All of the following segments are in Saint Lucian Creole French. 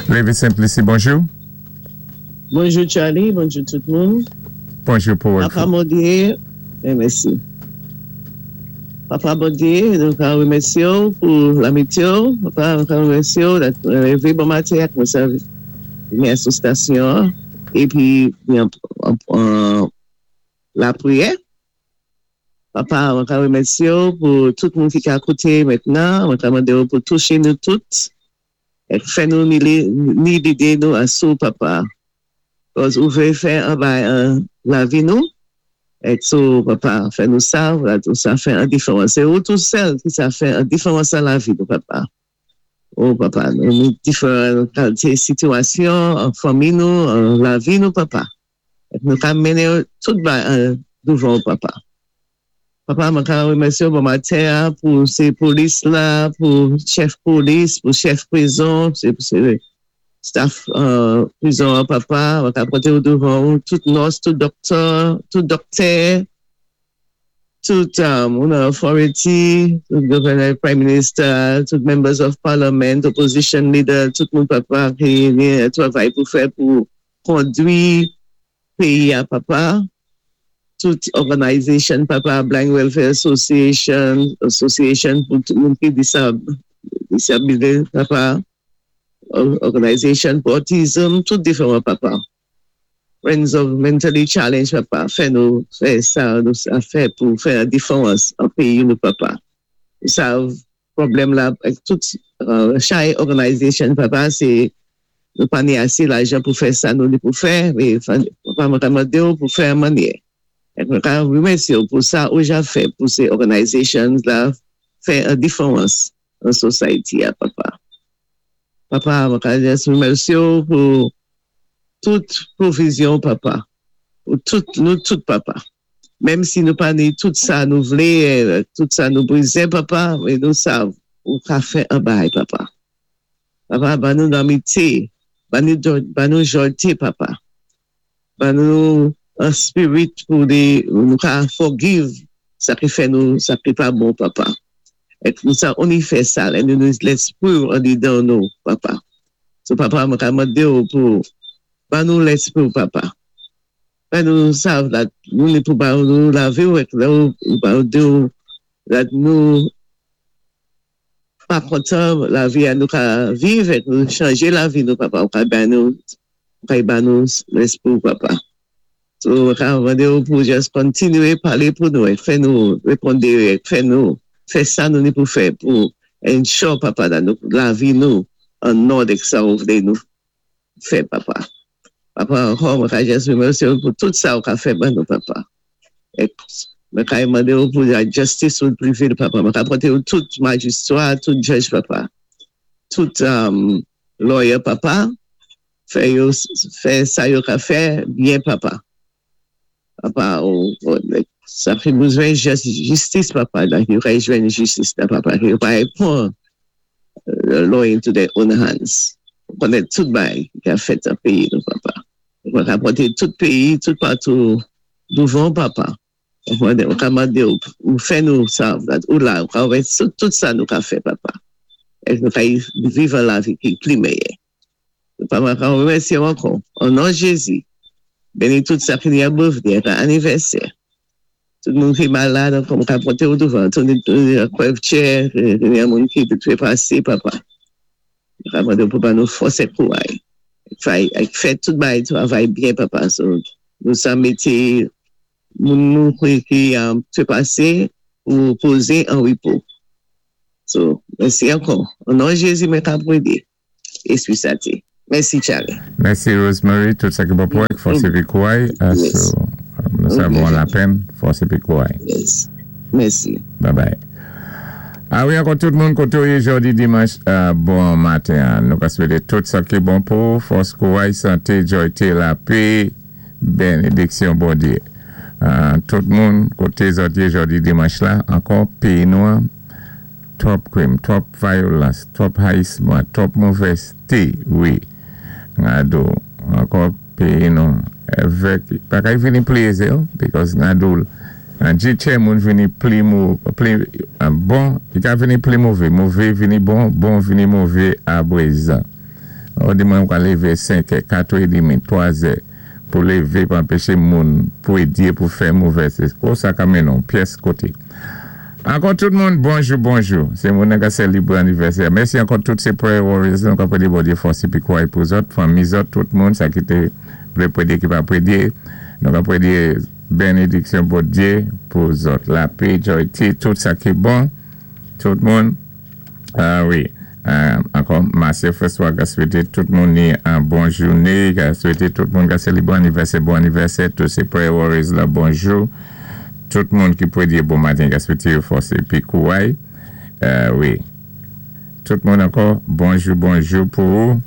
Lévi Simplici, bonjou. Bonjou Charlie, bonjou tout moun. Bonjou pou Papa Bondyé, mèsi. Papa Bondyé, nou ka remèsyé-w pou lamityé-w. Papa, nou ka remèsyé-w dat mwen lévé bon maten ak mwen sa vini sou stasyon an épi vin an lapriyè. Papa, mwen ka remèsyé-w pou tout moun ki ka kouté mentnan. Mwen ka mandé-w pou touché nou tout ek fè nou ni lidé nou asou, Papa. Kòz ou vlé fè an bagay an lavi nou. Ek so, Papa, fè nou sav dat ou sa fè an diférans. Sé ou tou sèl ki sa fè an diférans an lavi nou, Papa. O Papa, nou ni diferan kalité sitiyasyon an fanmi nou, an lavi nou, Papa. Ek nou ka mennen tout bagay an douvan ou, Papa. Papa, mwen ka remèsyé ou bon maten an pou sé polis la, pou chèf polis, pou chèf prizon, sé staff prizon an, Papa. Mwen ka pòté ou douvan ou tout nurse, tout dòktè, tout dòktè, tout moun an authority, tout governor, prime minister, tout members of parliament, opposition leader, tout moun, Papa, ki gen travay pou fè pou kondwi péyi a, Papa. Tout organization, Papa, Blind Welfare Association, association pou tout moun ki disab, disability, Papa, organization pou autism, tout diferan, Papa. Friends of Mentally Challenged, Papa, fè nou fè sa nou sa fè pou fè an diférans an péyi nou, Papa. Sav pwoblèm la ak tout chay organization, Papa, sé nou pa ni asé lajan pou fè sa nou ni pou fè, mé Papa, mwen ka mandé-w pou fè an mannyè. Ek mwen ka remèsyé-w pou sa ou ja fè pou sé organizations la fè an diférans an society a, Papa. Papa, mwen ka just remèsyé-w pou tout pwovizyon, Papa. Pou tout nou tout, Papa. Menm si nou pa ni tout sa nou vlé, tout sa nou bézwen, Papa, mé nou sav ou ka fè an bagay, Papa. Papa, ban nou lamityé, ban nou jòyté, Papa. Ban nou an spirit pou de nou ka forgive sa ki fè nou sa ki pa bon, Papa. Ek nou sa only fè sa lè nou ni Léspri andidan nou, Papa. So, Papa, mwen ka mandé-w pou ban nou Léspri, Papa. Fè nou sav dat nou ni pou ba nou lavi ou ek lè ou ba ou di ou dat nou pa kontan lavi a nou ka viv ek nou chanjé lavi nou, Papa, ou ka ba nou ou ka ba nou Léspri ou, Papa. So mwen ka mandé ou pou just kontinyé palé pou nou ek fè nou réponde ek fè nou fè sa nou ni pou fè pou ensure, Papa, dat nou lavi nou an òd ek sa ou vlé nou fè, Papa. Papa, ankò mwen ka just remèsyé ou pou tout sa ou ka fè ban nou, Papa. Ek mwen ka mandé ou pou la justice ou prevail, Papa. Mwen ka pòté ou tout majistra, tout judge, Papa. Tout lawyer, Papa. Fè yo fè sa yo ka fè byen, Papa. Papa, ou sa fè bézwen jistis, Papa, la yo ka jwenn jistis la, Papa. Yo pa pran law into their own hands. Ou konnen tout bagay ki ka fèt an péyi nou, Papa. Mwen ka pòté tout péyi, tout patou douvan, Papa. Ou ka mandé ou ou fè nou sav dat ou la, ou ka wè tout sa nou ka fè, Papa. Ek nou ka viv an lavi ki pli meyè. Papa, mwen ka remèsyé ou ankò. O non Jézi, béni tout sa ki ni a birthday ak anivèsè. Tout moun ki malad ankò, mwen ka pòté ou douvan. Tout kwèvtchè, ni a moun ki trépasé, Papa. Mwen ka mandé ou pou ban nou fòs ek kouray. Ek fè tout bagay travay byen, Papa. So, nou sa mété moun nou ki trépasé pou pozé an repo. So, mèsi ankò. O non Jézi, mwen ka pwédé. Espri Sante. Mèsi, Charlie. Mèsi, Rosemary. Tout sa ki bon pou ek, fòs épi kouray. So, nou sa bon la pèn, fòs épi kouray. Yes. Mèsi. Bye bye. A wi, ankò tout moun koté ou yé jòdi dimanch bon maten an. Nou ka swété tout sa ki bon pou ou, fòs, kouray, santé, jòyté, lapé, bénédiksyon Bondyé. Tout moun koté zòt yé jòdi dimanch la, ankò péyi nou an twòp krim, twòp vayolans, twòp hayisman, twòp movèzté wi Ngado ankò péyi nou èvèk bagay vini pli ézé because ngado nan djitchè moun vini pli pli bon li ka vini pli mové, mové vini bon, bon vini mové aprezan. Ou di mwen kwa lévé 5 è, 4 è demi, 3 è, pou lévé pou anpéché moun, pou édyé, pou fè movè. Sé kon sa ka mennen pyès koté. Ankò tout moun, bonjou, bonjou. Sé moun ka sélébwé anivèsè. Mèsi ankò tout sé prayer warriors, nou ka pwédyé Bondyé fòs épi kouway pou zòt, fanmi zòt, tout moun, sa ki té vlé pwédyé ki pa pwédyé. Nou ka pwédyé bénédiksyon Bondyé pou zòt. Lapè, joy, tout sa ki bon. Tout moun. Ah wi. Ankò, Marcel François ka swété tout moun ni an bon jouné, ka swété tout moun ka sélébwé anivèsè, bon anivèsè, tout sé prayer warriors la, bonjou. Tout moun ki pwédyé bon maten ka swété yo fòs épi kouway. Wi. Tout moun ankò, bonjou, bonjou pou ou.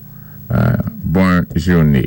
Bon jouné.